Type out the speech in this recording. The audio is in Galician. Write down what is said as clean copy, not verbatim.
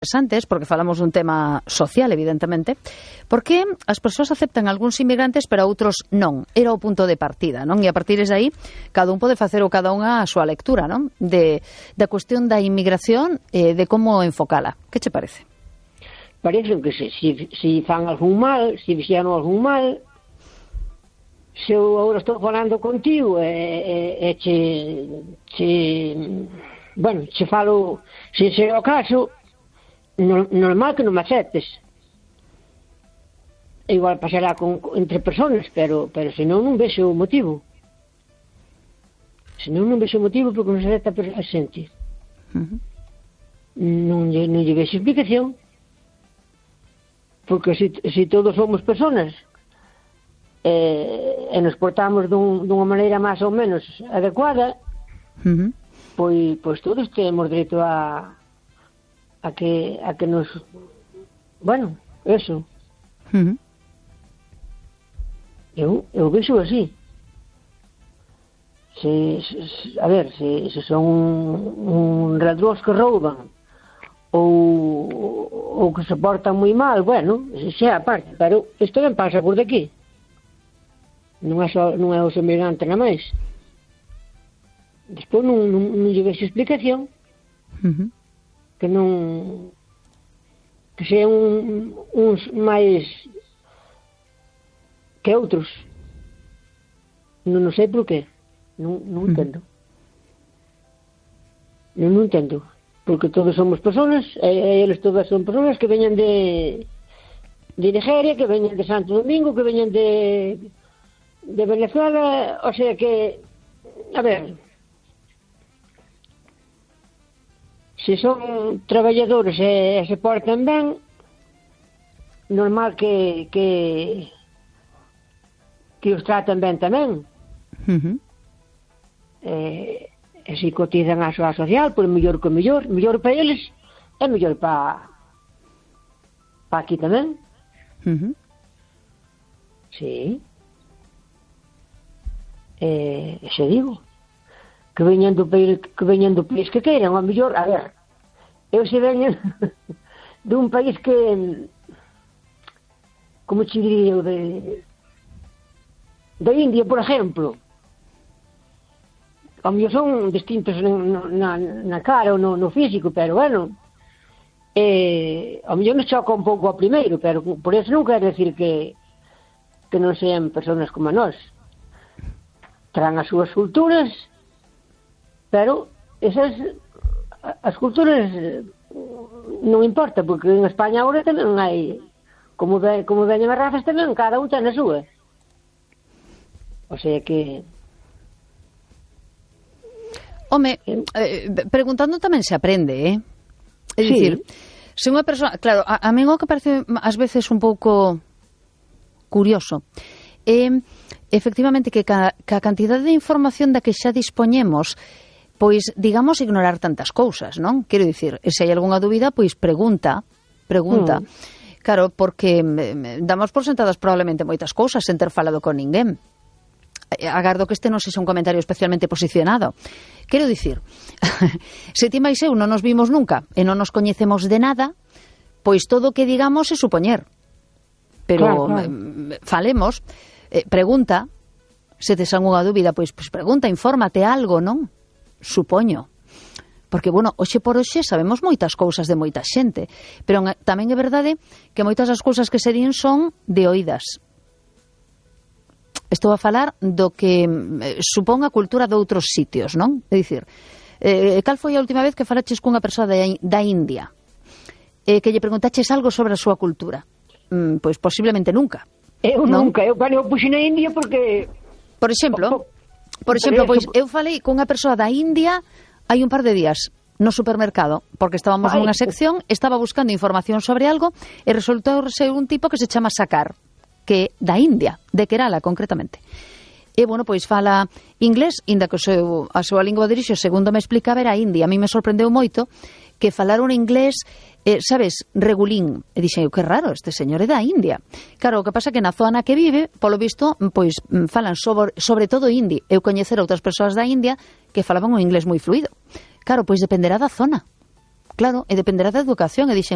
interesantes, porque falamos dun tema social, evidentemente, porque as persoas aceptan algúns inmigrantes pero outros non. Era o punto de partida, non? E a partir de aí, cada un pode facer ou cada unha a súa lectura, non? Da cuestión da inmigración e de como enfocala. Que che parece? Parece que se fan algún mal, se fixeron algún mal, se eu agora estou falando contigo e che falo, se é o caso, normal que non me aceptes. Igual pasará entre personas, pero senón non vexo o motivo. Senón non vexo o motivo porque non se acepta a xente. Non lle vexo explicación. Porque se todos somos personas e nos portamos dunha maneira máis ou menos adecuada, pois todos temos dereito a que nos... Bueno, eso. Eu vexo así. A ver, se son un ladróns que rouban ou que se portan moi mal, bueno, xa a parte, pero isto non pasa por daqui. Non é os emigrantes na máis. Despois non lle vexo explicación. Que non, que sean uns máis que outros. Non sei por qué. Non entendo. Non entendo. Porque todos somos personas, e eles todas son personas que veñan de Nigeria, que veñan de Santo Domingo, que veñan de Venezuela, o sea que, a ver, se son traballadores e se portan ben, normal que os traten ben tamén. E se cotizan a súa social, pois mellor que mellor para eles e mellor para aquí tamén. Sí. Xe digo que veñan do país que queiran, a mellor, a ver, eu se veño dun país que, como che diría eu, de India, por exemplo, a mellor son distintos na cara ou no físico, pero bueno, a mellor nos choca un pouco ao primeiro, pero por eso non quero decir que non sean personas como a nós. Traen as súas culturas, pero as culturas non importa, porque en España agora tamén hai, como veñen as razas tamén, cada un ten a súa. O sea que... Home, preguntando tamén se aprende, É dicir, se unha persoa... Claro, a mí o que parece ás veces un pouco curioso efectivamente que a cantidade de información da que xa dispoñemos, pois, digamos, ignorar tantas cousas, non? Quero dicir, se hai algunha dúbida, pois pregunta. Claro, porque damos por sentadas probablemente moitas cousas sen ter falado con ninguén. Agardo que este non sexa un comentario especialmente posicionado. Quero dicir, se ti máis eu non nos vimos nunca e non nos coñecemos de nada, pois todo o que digamos é supoñer. Pero claro. Falemos, pregunta, se tes algunha dúbida, pois pregunta, infórmate algo, non? Supoño. Porque, bueno, hoxe por hoxe sabemos moitas cousas de moita xente, pero tamén é verdade que moitas das cousas que se din son de oídas. Estou a falar do que supón a cultura de outros sitios, non? É dicir, cal foi a última vez que falaches cunha persoa da India? Que lle preguntaches algo sobre a súa cultura? Pois posiblemente nunca. Eu nunca, eu puxen na India porque... Por exemplo, pois eu falei cunha persoa da India hai un par de días no supermercado, porque estábamos nunha sección, estaba buscando información sobre algo e resultou ser un tipo que se chama Sakar, que da India, de Kerala concretamente. E, bueno, pois fala inglés, inda que a súa lingua de orixe, segundo me explicaba, era India. A mí me sorprendeu moito que falar un inglés, sabes, regulín. E dixen, que raro, este señor é da India. Claro, o que pasa que na zona que vive, polo visto, pois falan sobre todo hindi. Eu coñecer outras persoas da India que falaban un inglés moi fluido. Claro, pois dependerá da zona. Claro, e dependerá da educación, e dixen,